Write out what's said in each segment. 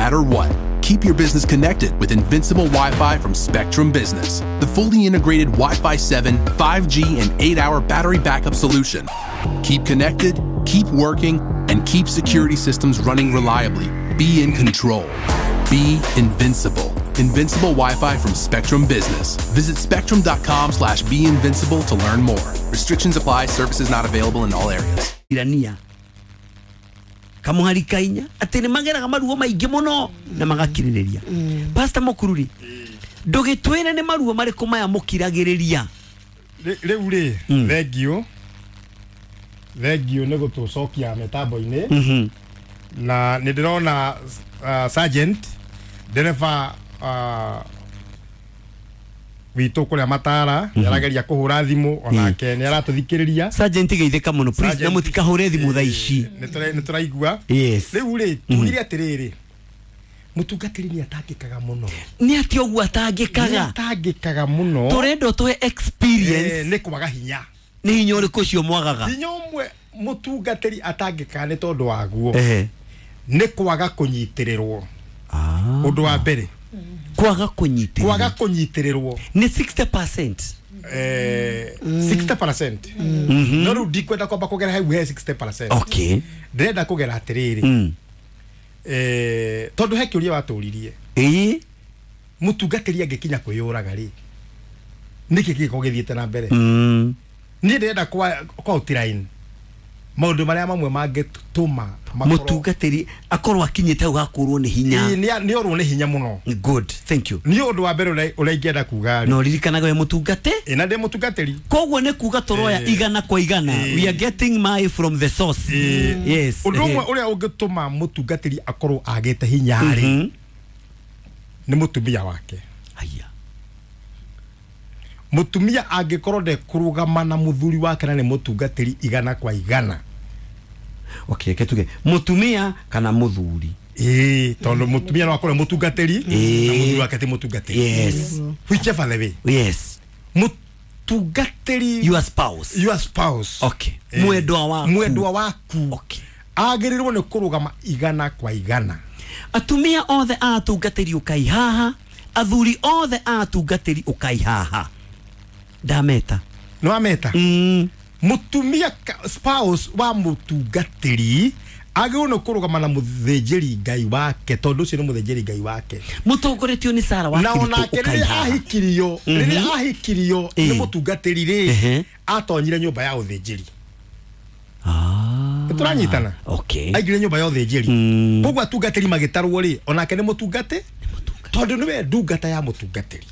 matter what. Keep your business connected with Invincible Wi-Fi from Spectrum Business, the fully integrated Wi-Fi 7, 5G, and 8-hour battery backup solution. Keep connected, keep working, and keep security systems running reliably. Be in control. Be invincible. Invincible Wi-Fi from Spectrum Business. Visit spectrum.com/beinvincible to learn more. Restrictions apply. Services not available in all areas. Irania kamuhari kainya atĩ nĩ mageraga maruo maingĩ mũno na magakirĩrĩria. Pastor Mũkururi, ndũgĩtwĩre nĩ maruo marĩkũ maya mũkiragĩrĩria? Rĩu rĩ, thengiũ, thengiũ nĩ gũtũcokia mĩtambo-inĩ, na nĩ ndĩrona sergeant ndereba witũ kũrĩa Matara nĩ arageria kũhũra thimũ, onake nĩ aratũthikĩrĩria. Sergeant, geithĩka mũno, please, na mũtikahũre thimũ thaa ici. Nĩ tũraigua. Yes. Rĩu rĩ, tugire atĩrĩrĩ, mũtungatĩri nĩ atangĩkaga mũno. Nĩ atĩ ũguo Nĩ atangĩkaga? Atangĩkaga mũno. Tũrenda ũtũhe experience. Nĩ kwaga hinya. Nĩ hinya ũrĩkũ ũcio mwagaga? Hinya ũmwe mũtungatĩri atangĩkaga nĩ tondũ waguo nĩ kwaga kũnyitĩrĩrwo, ũndũ wa mbere. Kwaga kũnyitĩrĩrwo. Kwaga kũnyitĩrĩrwo. Nĩ 60%. 60%, no rĩu ndikwenda kwamba kũgera hau he 60%. Ndĩrenda kũgera atĩrĩrĩ, tondũ he kĩũria watũririe, mũtungatĩri angĩkinya kwĩyũraga rĩ, nĩkĩ gĩgĩkorwo gĩthiĩte na mbere? Niĩ ndĩrenda kwa outline maũndũ marĩa mamwe mangĩtũma makorwo Mũtungatĩri akorwo akinyĩte hau gakũrwo nĩ hinya. Ĩĩ, nĩ orwo nĩ hinya mũno. Good, thank you. Nĩ ũndũ wa mbere ũrĩa ingĩenda kuga rĩ, Na ũririkanaga we mũtungate. Ĩ, na ndĩ mũtungatĩri. Koguo nĩ kuga tũroya 100%. We are getting my from the source. Yes. Ũndũ ũmwe ũrĩa ũngĩtũma mũtungatĩri akorwo agĩte hinya rĩ, nĩ mũtumia wake. Haya. Mũtumia angĩkorwo ndekũrũgama na mũthuri wake na nĩ mũtungatĩri 100%. Okay, reke tuge mũtumia kana mũthuri. Ĩĩ, tondũ mũtumia no akorwo mũtungatĩri na mũthuri wake ti mũtungatĩri. Whichever the way, mũtungatĩri, your spouse. Your spouse. Mwendwa waku. Mwendwa waku agĩrĩirwo nĩ kũrũgama 100%. Atumia othe a atungatĩri, ũkai haha. Athuri othe a atungatĩri, ũkai haha, ndameta. Nĩ wameta. Mũtumia spouse wa mũtungatĩri agĩrĩirwo nĩ kũrũgama na mũthĩnjĩri Ngai wake, tondũ ũcio nĩ mũthĩnjĩri Ngai wake. Mũtongoretio nĩ Sara wa Na Kirito. onake Ũkai rĩrĩa haha. ahikirio, rĩrĩa ahikirio nĩ mũtungatĩri rĩ, atonyire nyũmba ya ũthĩnjĩri. Nĩ tũranyitana? Aingĩre nyũmba ya ũthĩnjĩri. Koguo atungatĩri magĩtarwo rĩ, onake nĩ mũtungati, tondũ nĩwe ndungata ya mũtungatĩri.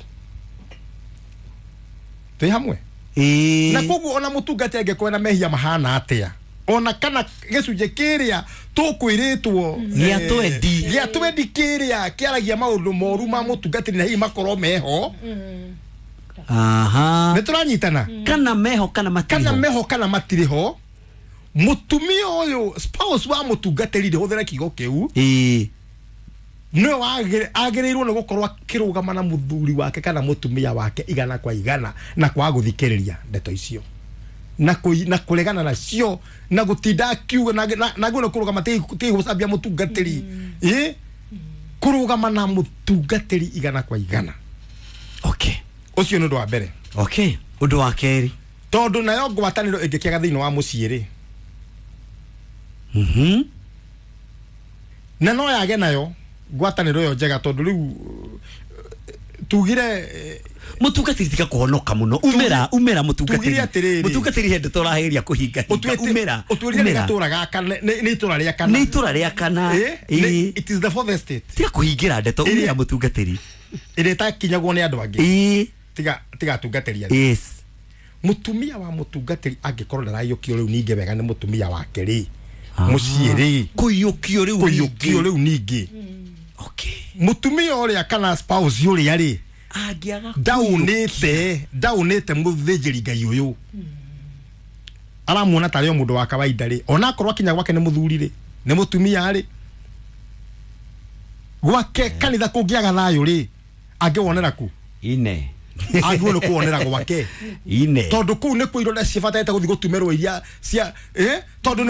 Twĩ hamwe? Ĩĩ. Na koguo ona mũtungati angĩkorwo na mehia mahana atĩa, ona kana gĩcunjĩ kĩrĩa tũkwĩrĩtwo Gĩa twendi. Gĩa twendi kĩrĩa kĩaragia maũndũ moru ma mũtungatĩri, na hihi makorwo meho. Nĩ tũranyitana? Kana meho kana matirĩ Kana ho. meho kana matirĩ ho, mũtumia ũyũ, spouse wa mũtungatĩri, ndĩhũthĩre kiugo kĩu, nĩwe agĩrĩirwo nĩ gũkorwo akĩrũgama na mũthuri wake kana mũtumia wake 100%, na kwaga gũthikĩrĩria ndeto icio na kũregana nacio na gũtinda akiuga na agĩrĩirwo nĩ kũrũgama, ti gũcambia mũtungatĩri, ĩ kũrũgama na mũtungatĩri 100%. Ũcio nĩ ũndũ wa mbere. Okay, ũndũ wa kerĩ. Tondũ nayo ngwatanĩro ĩngĩkĩaga thĩinĩ wa mũciĩ rĩ, na no yage nayo ngwatanĩro ĩyo njega, tondũ rĩu tugire Mũtungatĩri, tiga kũhonoka mũno, umĩra, umĩra mũtungatĩri. Tugire atĩrĩrĩ. Mũtungatĩri, he ndeto ũrageria kũhinga hinga. Umĩra. Ũtwĩrire nĩ Umĩra. gatũra gaka, nĩ itũra rĩa kana. Nĩ itũra rĩa kana. It is the fourth estate. Tiga kũhingĩra ndeto. Umĩra, mũtungatĩri. Ĩrĩa ĩtakinyagwo nĩ andũ angĩ. Tiga atungatĩri angĩ. Mũtumia wa mũtungatĩri angĩkorwo ndaraiyũkio rĩu ningĩ wega nĩ mũtumia wake rĩ, mũciĩ rĩ, Kũiyũkio rĩu kũiyũkio ningĩ. Rĩu ningĩ, mũtumia ũrĩa kana spouse ũrĩa rĩ, Angĩaga ndaunĩte mũthĩnjĩri Ngai ũyũ, aramuona tarĩ o mũndũ wa kawaida rĩ, ona akorwo akinya gwake nĩ mũthuri rĩ, nĩ mũtumia rĩ, gwake kanitha kũngĩaga thayũ rĩ, angĩwonera ku? Ine. Agĩrĩirwo nĩ kũwonera gwake. Ine. Tondũ kũu nĩkuo ironda cibatarĩte gũthiĩ gũtumĩrwo iria cia tondũ.